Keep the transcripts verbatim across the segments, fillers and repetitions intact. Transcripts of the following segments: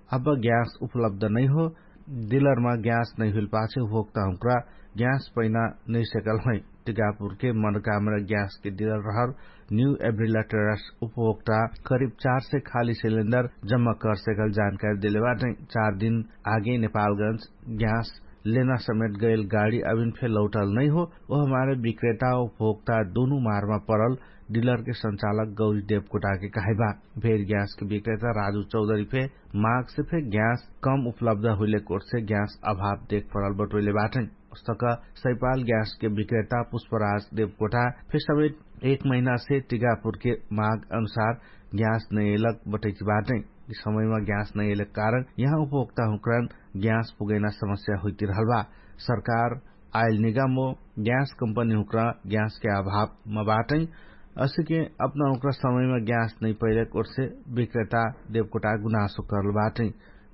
अब ग्यास उपलब्ध नैहो। डिलरमा ग्यास नैहुइल पाछे उपभोक्ता हुँक्रा ग्यास पैना नैसेकल है। टिकापुरके मनकामरा ग्यासके डिलर रहल न्यू एब्रिला टेरस उपभोक्ता करिब चार सय खाली सिलिन्डर जम्मा करसेकल जानकारी देले बाटै। चार दिन आगे नेपालगंज ग्यास लेना समेट गैल गाडी अभिन फे लौटल नैहो। ओहमारे विक्रेता उपभोक्ता दुनु मारमा परल डिलरके संचालक गौरी देवकोटाके कहैबा। भेर ग्यासके विक्रेता राजु चौधरी फे मागसे फे ग्यास कम उपलब्ध हुइले कोटसे ग्यास अभाव देख परल बटोइले बाटै। उस्तक सैपाल ग्यासके विक्रेता पुष्पराज देवकोटा फे समेट एक महिनासे टिकापुरके माग अनुसार ग्यास नैएलक बटैकी बाटै। यि समयमा ग्यास नैएलक कारण यहाँ उपभोक्ता हुँक्रान ग्यास पुगैना समस्या हुइतिरहल बा। सरकार आइल निगम ओ ग्यास कम्पनी हुँक्रा ग्यासके अभावमा बाटै। असिके अपना हुँक्रा समयमा ग्यास नैपैलक ओटसे विक्रेता देवकोटा गुनासो करल बाटै।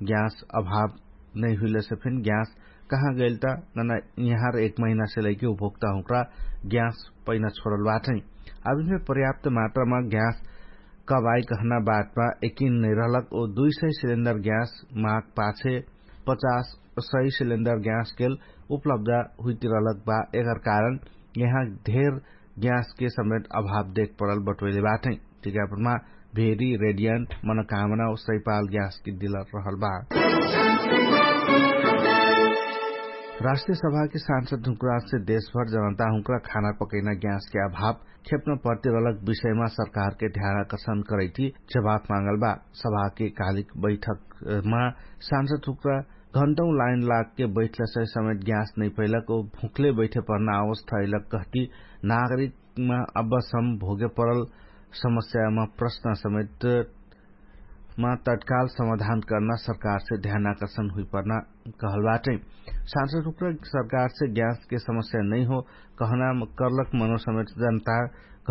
ग्यास अभाव नैहुइलसे फिन ग्यास कहाँ गैल त नना यहाँर एक महिनासे लैके उपभोक्ता हुँक्रा ग्यास पैना छोडल बाटै। अभिन फे पर्याप्त मात्रामा ग्यास कब आइ कहना बाटमा यकिन नैरहलक ओ दुई सय सिलिन्डर ग्यास माग पाछे पचास सय सिलिन्डर ग्यासकेल उपलब्ध हुइतिरहलक बा। एकर कारण यहाँ धेर ग्यासके समेट अभाव देख परल बटोइले बाटै। टिकापुरमा भेरी रेडियन्ट मनकामना ओ सैपाल ग्यासके डिलर रहल बा। राष्ट्रिय सभाके सांसद हुँक्रासे देशभर जनता हुँक्रा खाना पकैना ग्यासके अभाव खेप्न पर्तिरहलक विषयमा सरकारके ध्यान आकर्षण करैति जवाफ मागल बा। सभाके कालिक बैठकमा सांसद हुँक्रा घण्टौ लाइन लागके बैठलसै समेट ग्यास नैपैलक ओ भुक्ले बैठे पर्ना अवस्था अइलक कहति नागरिकमा अब्बसम भोगे परल समस्यामा प्रश्न समेट मा तत्काल समाधान कर्ना सरकारसे ध्यान आकर्षण हुइपर्ना कहल बाटै। सांसद हुँक्रा सरकारसे ग्यासके समस्या नैहो कहना कर्लक मनो समेट जनता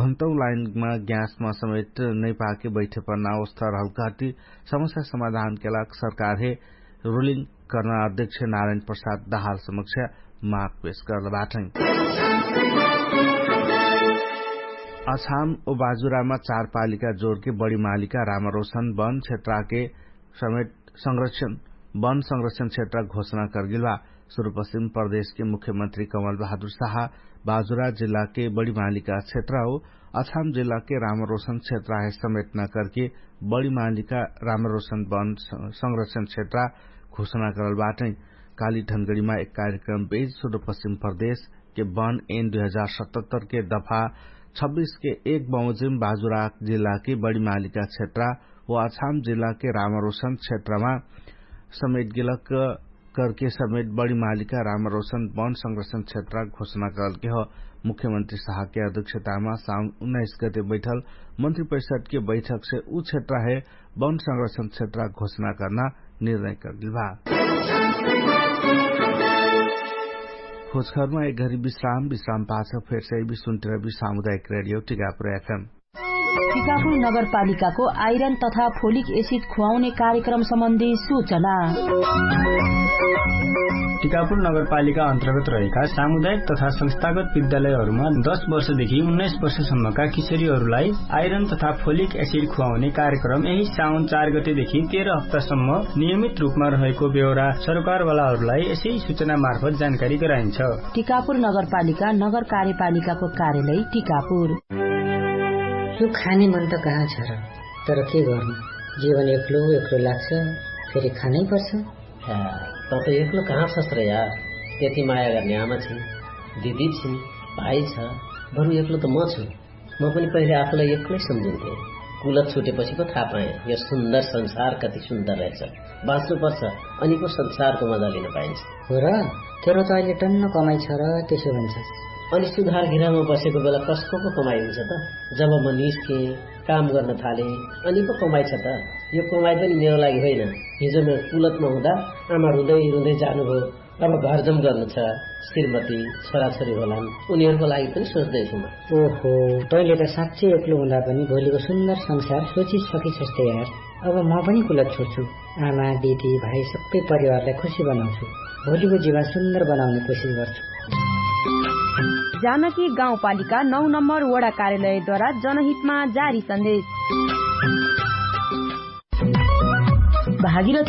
घण्टौ लाइनमा ग्यासमा समेट नैपाके बैठे पर्ना अवस्था रहल कहति समस्या समाधानके लाग सरकारहे रुलिङ कर्ना अध्यक्ष नारायण प्रसाद दाहाल समक्ष माग पेश कर्ल बाटै। अछाम ओ बाजुरामा चार पालिका जोरके बडी मालिका रामरोशन वन क्षेत्राके समेट संरक्षण वन संरक्षण क्षेत्र घोषणा कर्गिल बा। सुरुपश्चिम प्रदेशके मुख्यमन्त्री कमल बहादुर साहा बाजुरा जिल्लाके बडी मालिका क्षेत्र हो अछाम जिल्लाके रामरोशन क्षेत्र हे समेटना कर्के बडी मालिका रामरोशन वन संरक्षण क्षेत्र घोषणा करल बाटै। काली धनगडीमा एक कार्यक्रम बेज सुरुपश्चिम प्रदेशके वन एन दुई हजार सतहत्तरके दफा छब्बिसके एक बमोजिम बाजुराक जिल्लाके बडी मालिका क्षेत्र ओ अछाम जिल्लाके रामरोशन क्षेत्रमा समेट गेलक करके समेट बडी मालिका रामरोशन वन संरक्षण क्षेत्र घोषणा करलके हो। मुख्यमन्त्री साहके अध्यक्षतामा साउन उन्नाइस गते बैठल मन्त्री परिषदके बैठकसे उ क्षेत्र हे वन संरक्षण क्षेत्र घोषणा कर्ना निर्णय करल बा। खोजखरमा एक घरी विश्राम विश्राम पाछ फेरसे बिसुन्टिर बि सामुदायिक रेडियो टिकापुर एफएम। टिकापुर नगरपालिकाको आइरन तथा फोलिक एसिड खुवाउने कार्यक्रम सम्बन्धी सूचना। टिकापुर नगरपालिका अन्तर्गत रहेका सामुदायिक तथा संस्थागत विद्यालयहरूमा दस वर्षदेखि उन्नाइस वर्षसम्मका किशोरीहरूलाई आइरन तथा फोलिक एसिड खुवाउने कार्यक्रम यही साउन चार गतेदेखि तेह्र हप्तासम्म नियमित रूपमा रहेको बेहोरा सरकारवालाहरूलाई यसै सूचना मार्फत जानकारी गराइन्छ। टिकापुर नगरपालिका नगर कार्यपालिकाको कार्यालय टिकापुर। यो खाने मन त कहाँ छ र? तर के गर्नु, जीवन एक्लो एक्लो लाग्छ। फेरि खानै पर्छ। त त एक्लो कहाँ छस् र यार? यति माया गर्ने आमा छिन्, दिदी छिन्, भाइ छ। बरु एक्लो त म छु। म पनि पहिले आफूलाई एक्लै सम्झिन्थे। कुलत छुटेपछि पो थाहा पाएँ यो सुन्दर संसार कति सुन्दर रहेछ। बाँच्नुपर्छ, अनि पो संसारको मजा लिन पाइन्छ। हो र? तेरो त अहिले टन्न कमाइ छ र, त्यसो भन्छस्? अनि सुधार गृहमा बसेको बेला कसको पो कमाइ हुन्छ त? जब म निस्केँ, काम गर्न थालेँ, अनि पो कमाइ छ त। यो कमाइ पनि मेरो लागि होइन। हिजो म कुलतमा हुँदा आमा रुँदै रुँदै जानुभयो। अब घरजम गर्नु छ, श्रीमती, छोराछोरी होलान्, उनीहरूको लागि पनि सोच्दैछु म। ओहो, तैँले त साँच्चै एक्लो हुँदा पनि भोलिको सुन्दर संसार सोचिसकिछस् त यार। अब म पनि कुलत छोड्छु। आमा, दिदी, भाइ सबै परिवारलाई खुसी बनाउँछु। भोलिको जीवन सुन्दर बनाउने कोसिस गर्छु। जानकी गाउँपालिका नौ नम्बर वडा कार्यालयद्वारा जनहितमा जारी सन्देश। भागीरथी